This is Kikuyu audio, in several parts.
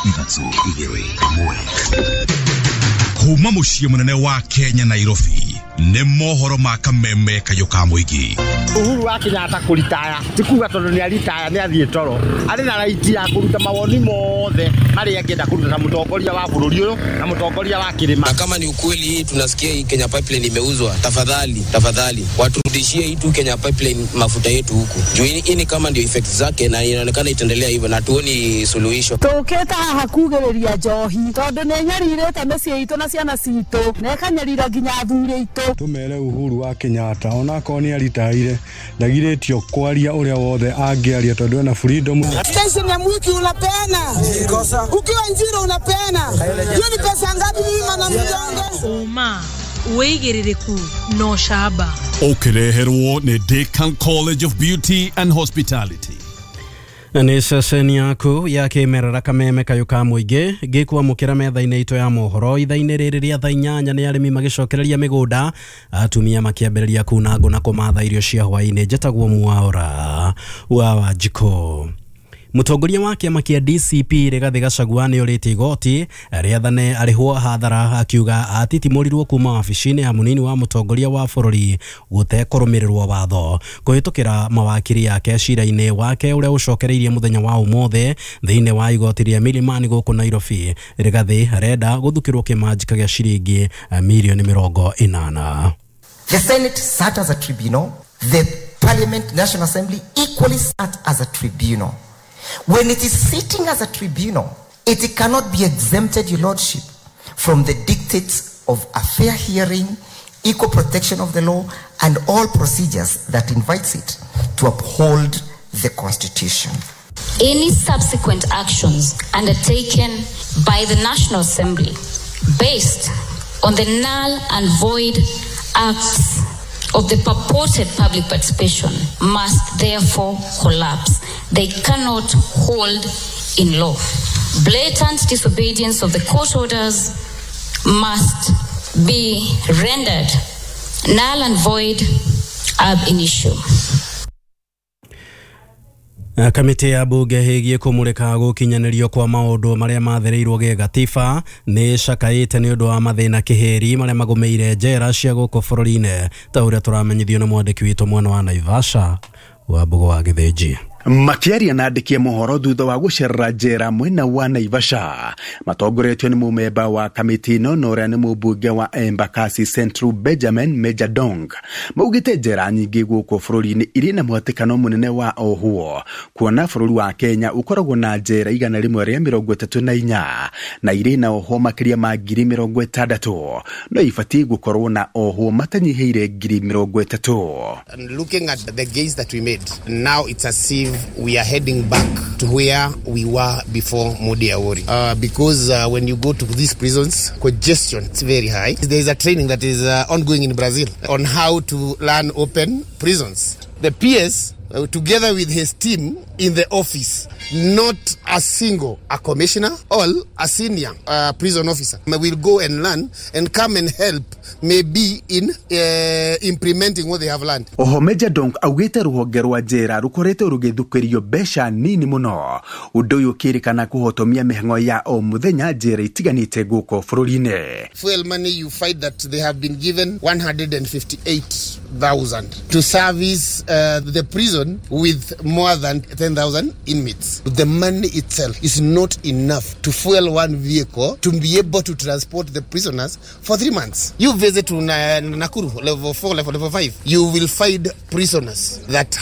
3 2 1. Kuma muciĩ mũnene wa Kenya Nairobi nĩ mohoro ma kameme kayũ ka mũingĩ. Uhuru wa Kenyatta kũritaya ti kuga tondũ nĩ aritaya nĩ athiĩ toro, arĩ na right ya kũruta mawoni mothe marĩa angĩenda kũruta ta mũtongoria wa bũrũri ũyũ na mũtongoria wa kĩrĩma. Na kama ni ukweli hii tunasikia hii Kenya Pipeline imeuzwa, tafadhali tafadhali waturudishie hii tu Kenya Pipeline mafuta yetu huku juu hii ni kama ndio effect zake na inaonekana itaendelea hivyo na tuoni suluhisho. Tũkĩte haha kugĩrĩria njohi tondũ nĩ nyarirĩte mĩciĩ itũ na ciana citũ na ĩkanyarira nginya athuri aitũ. Tumere Uhuru wa Kenyatta onakorwo nĩ aritaire ndagirĩtio kwaria ũrĩa wothe angĩaria tondũ ena freedom. Station ya mwiki unapeana, ukiwa Njiro unapeana, hiyo ni pesa ngapi? Mimi mana mjonge uma wĩigĩrĩrĩku no camba ũkĩreherwo nĩ Decan College of Beauty and Hospitality. Nĩ ceceni yaku ya kĩmerera kameme kayũ ka mũingĩ gĩkwamũkĩra metha-inĩ itũ ya mohoro ithaa-inĩ rĩrĩ rĩa thaa 8 nĩ arĩmi magĩcokereria mĩgũnda, atumia makĩambĩrĩria kuna ngũ na kũmatha irio cia hwaĩ-inĩ. Njĩtagwo Mwaura wa Wanjikũ. Mũtongoria wa kĩama kĩa DCP Rigathĩ Gachagua nĩ orĩtie igoti rĩathane arĩhwo hathara, akiuga atitimũrirwo kuma wabici-inĩ ya mũnini wa mũtongoria wa bũrũri gũtekũrũmĩrĩrwo watho kũhĩtũkĩra mawakiri yake cira-inĩ wake ũrĩa ũcokereirie mũthenya wa ũmũthĩ thĩinĩ wa igoti rĩa Milimani gũkũ Nairobi. Rigathĩ arenda gũthukĩrwo kĩmanjĩka gĩa ciringi mirioni 80. The Senate sat as a tribunal, the Parliament, National Assembly equally sat as a tribunal. When it is sitting as a tribunal, it cannot be exempted, Your Lordship, from the dictates of a fair hearing, equal protection of the law, and all procedures that invites it to uphold the Constitution. Any subsequent actions undertaken by the National Assembly based on the null and void acts of the purported public participation must therefore collapse. They cannot hold in law. Blatant disobedience of the court orders must be rendered null and void ab initio. Kamĩtĩ ya bunge ĩgiĩ kũmũrĩka gũkinyanĩrio kwa maũndũ marĩa mathereirwo gĩgatiba nĩ ĩcakaĩte nĩ ũndũ wa mathĩna kĩhĩri marĩa magũmĩire njera cia gũkũ bũrũri-inĩ, ta ũrĩa tũramenyithio nĩ mwandĩki witũ mwena wa Naivasha wa Mbugo wa Gĩthĩnji. Makiaria na andĩki mohoro thutha wa gũcerera njera mwena wa Naivasha matongoretio nĩ mũmemba wa kamĩtĩ ĩno na ũrĩa nĩ mũmbunge wa Embakasi Central Benjamin Mejadong maugĩte njera nyingĩ gũkũ bũrũri-inĩ irĩ na mũhatĩkano mũnene wa ohwo kuona bũrũri wa Kenya ũkoragwo na njera 134 na irĩ na ohwo makĩria ma 60,000 no ibatiĩ gũkorwo na ohwo matanyihĩire 30,000. And looking at the gains that we made now, it's as if we are heading back to where we were before Modi Awori. Because when you go to these prisons, congestion is very high. There is a training that is ongoing in Brazil on how to learn open prisons. The PS, together with his team in the office, not a single a commissioner or a senior prison officer will go and learn and come and help maybe in implementing what they have learned. Oho Major Donk augĩte rũhonge rwa njera rũkoretwo rũgĩthukĩrio mbeca nini mũno, ũndũ ũyũ ũkĩrĩkana kũhotomia mĩhang'o ya o mũthenya njera itiganĩte gũkũ bũrũri-inĩ. Fuel money, you find that they have been given 158,000 to service the prison with more than 10,000 inmates. The money itself is not enough to fuel one vehicle to be able to transport the prisoners for 3 months. You visit to Nakuru, level 4, level 5, you will find prisoners that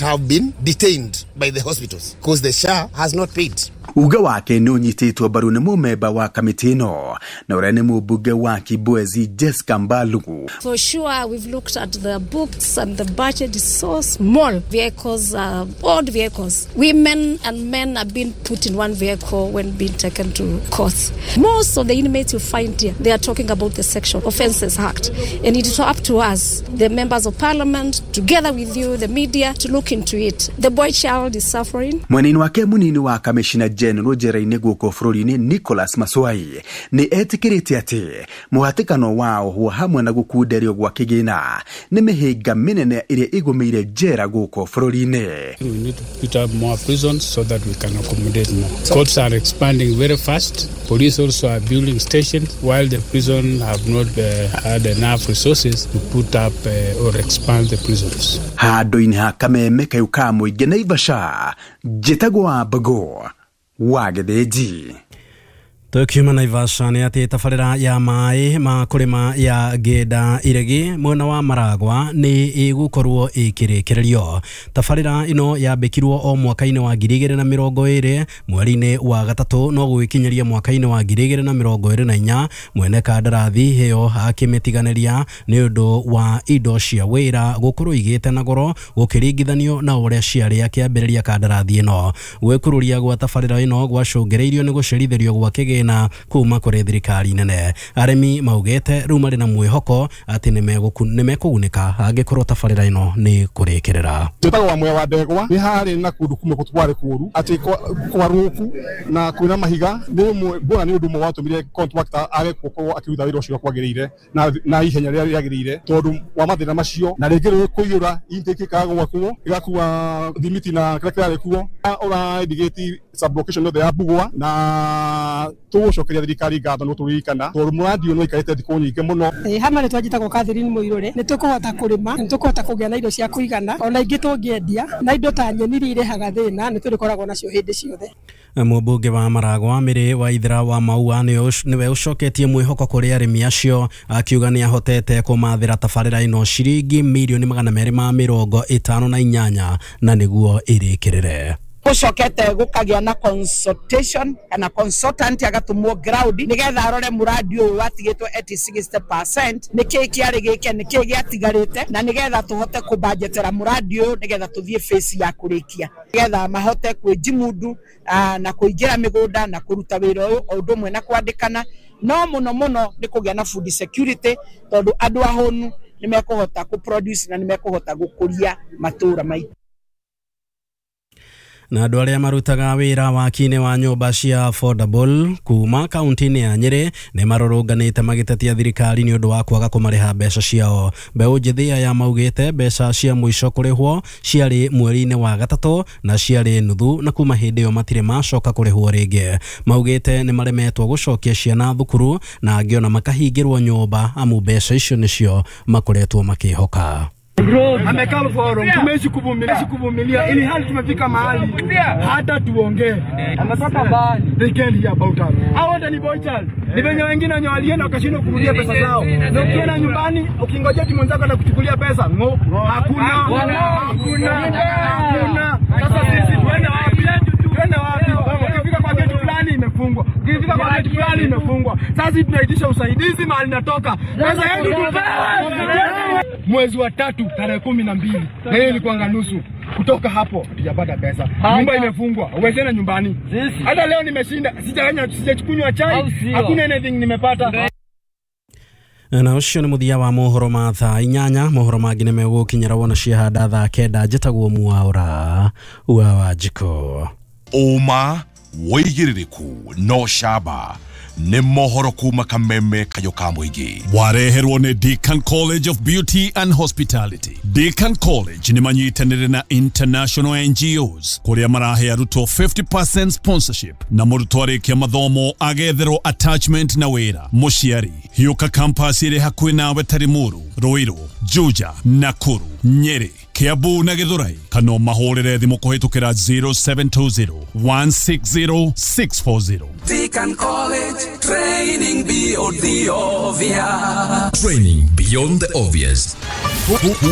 have been detained by the hospitals because the SHA has not paid. Uga wake nĩ ũnyitĩtwo mbaru nĩ mũmemba wa kamĩtĩ ĩno na ũrĩa nĩ mũmbunge wa Kibwezi Jessica Mbalugu. For sure, we've looked at the books and the budget is so small. Vehicles are old vehicles. Women and men are being put in one vehicle when being taken to court. Most of the inmates you find here, they are talking about the Sexual Offences Act. And it is up to us, the members of parliament, together with you, the media, to look into it. The boy child is suffering. Mwenini wake munini wa kamishina General njera-inĩ gũkũ bũrũri-inĩ Nicholas Maswai nĩ etĩkĩrĩte atĩ mũhatĩkano wa ohwo hamwe na gũkunderio gwa kĩgĩna nĩ mĩhĩnga mĩnene ĩrĩa ĩgũmĩire njera gũkũ bũrũri-inĩ. We need to put up more prisons so that we can accommodate more. Courts are expanding very fast. Police also are building stations, while the prison have not had enough resources to put up or expand the prisons. Handũ-inĩ ha kameme kayũ ka mũingĩ Naivasha, njĩtagwo Wambago wa Gĩthĩnji. Tukiuma Naivasha nĩ atĩ tabarĩra ya maĩ ma kũrĩma ya Ngĩnda Iregi mwena wa Maragwa nĩ ĩgũkorwo ĩkĩrĩkĩrĩrio. Tabarĩra ĩno yambĩkirwo o mwaka-inĩ wa 2020 mweri-inĩ wa gatatũ no gũgĩkinyĩria mwaka-inĩ wa 2024 mwene kandarathi ĩyo akĩmĩtiganĩria nĩ ũndũ wa indo cia wĩra gũkorwo igĩte na goro gũkĩringithanio na ũrĩa ciarĩ akĩambĩrĩria kandarathi ĩno. Gwĩkururia gwa tabarĩra ĩno gwacũngĩrĩirio nĩ gũcerithĩrio gwa kĩgĩna na kuma kũrĩ thirikari nene. Arĩmi maugĩte rĩu marĩ na mwĩhoko atĩ nĩmekũgunĩka angĩkorwo tabarĩra ĩno nĩ kũrĩkĩrĩra. Njĩtagwo wa Mwea wa Ndegwa nĩ harĩ na kũndũ kumwe kwarĩ kũũru atĩ kwarũku na kwĩna mahiga nĩ mbona nĩ ũndũ ũmwe watũmire contractor age gũkorwo akĩruta wĩra ũcio kwagĩrĩire na ihenya rĩrĩa rĩagĩrĩire tondũ wa mathĩna macio na rĩngĩ rĩrĩ kũiyũra intake ĩkaga gwakwo ĩgakua thimiti na kĩrĩa kĩrarĩ kuo ũra indicate sublocation yothe ya Bugwa na tũgũcokeria thirikari ngatho nĩ tũririkana tondũ mũrandi ũyũ nĩ waikarĩte thikũ nyingĩ mũno. Hama nĩ twanjĩtagwo Catherine Mũirũre nĩ tũkũhota kũrĩma nĩ tũkũhota kũgĩa na indo cia kũigana ona ingĩ tũngĩendia na indo ta nyeni iria irehaga thĩna nĩ tũrĩkoragwo nacio hĩndĩ ciothe. Mũmbunge wa Maragwa Mĩrĩ Waithera wa Maua nĩwe ũcoketie mwĩhoko kũrĩ arĩmi acio akiuga nĩ ahotete kũmathĩra tabarĩra ĩno ciringi mirioni 258 na nĩguo ĩrĩkĩrĩre. Gucokete gukagia na consultation kana consultant agatumwo ground nigetha arore muradi uyu watigitwo at 60% niki kiari gike niki giatigarite na nigetha tuhote kubajetera muradi uyu nigetha tuthie phase ya kurikia nigetha mahote kwijimundu na kuingira migunda na kuruta wira uyu o undu umwe na kwandikana no muno muno ni kugia na food security tondu andu ahonu ni mekuhota ku produce na ni mekuhota gukuria matura maitu. Na andũ arĩa marutaga wĩra waki-inĩ wa nyũmba cia affordable kuma kaunti-inĩ ya Nyĩrĩ nĩ marũrũnganĩte magĩtetia thirikari nĩ ũndũ wa kwaga kũmarĩha mbeca ciao. Mbeũ njĩthĩ aya maugĩte mbeca cia mũico kũrĩhwo ciarĩ mweri-inĩ wa gatatũ na ciarĩ nuthu na kuma hĩndĩ ĩyo matirĩ macoka kũrĩhwo rĩngĩ. Maugĩte nĩ maremetwo gũcokia ciana thukuru na angĩ ona makahingĩrwo nyũmba amu mbeca icio nĩcio makoretwo makĩhoka. Amekaa forum, tumeishi kuvumilia ili hali tumefika mahali hata tuongee. Ametoka mbali. They can't hear about us. Hao wote ni boy child. Ni wenye wengine wenye walienda wakashindwa kurudia pesa zao. Na ukienda nyumbani ukingojea timu mwenzako atakuchukulia pesa, ngo hakuna. Hakuna. Sasa sisi tuende wapi? Tuende wapi? Ukifika kwa gate fulani imefungwa. Ukifika kwa gate fulani imefungwa. Sasa tunaitisha usaidizi mahali natoka. Pesa yetu tupewe. Mwezi wa 3 tarehe 12 na hiyo ilikuwa nusu. Kutoka hapo hatujapata pesa. Nyumba imefungwa. Uweze na nyumbani. Hata leo nimeshinda, sijakunywa chai, hakuna anything nimepata. Na ũcio nĩ mũthia wa mohoro ma thaa 8. Mohoro mangĩ nĩ megũkinyĩra wona ciahanda thaa 9. Njĩtagwo Mwaũra wa Wanjikũ. Ũma wĩigĩrĩrĩku no camba nĩ mohoro kuma kameme kayũ ka mũingĩ. Wareherwo nĩ Deacon College of Beauty and Hospitality. Deacon College nĩ manyitanĩire na international NGOs kũrĩa marahe arutwo 50% sponsorship na mũrutwo arĩkia mathomo agetherwo attachment na wĩra. Mũciari hiũka campus ĩrĩ hakuhĩ nawe ta Limuru, Ruiru, Juja, Nakuru, Nyeri, Kiambu na Githurai, kana mahũrĩre thimũ kũhĩtũkĩra 0720 160 640. Deacon College, training beyond the obvious. Training beyond the obvious.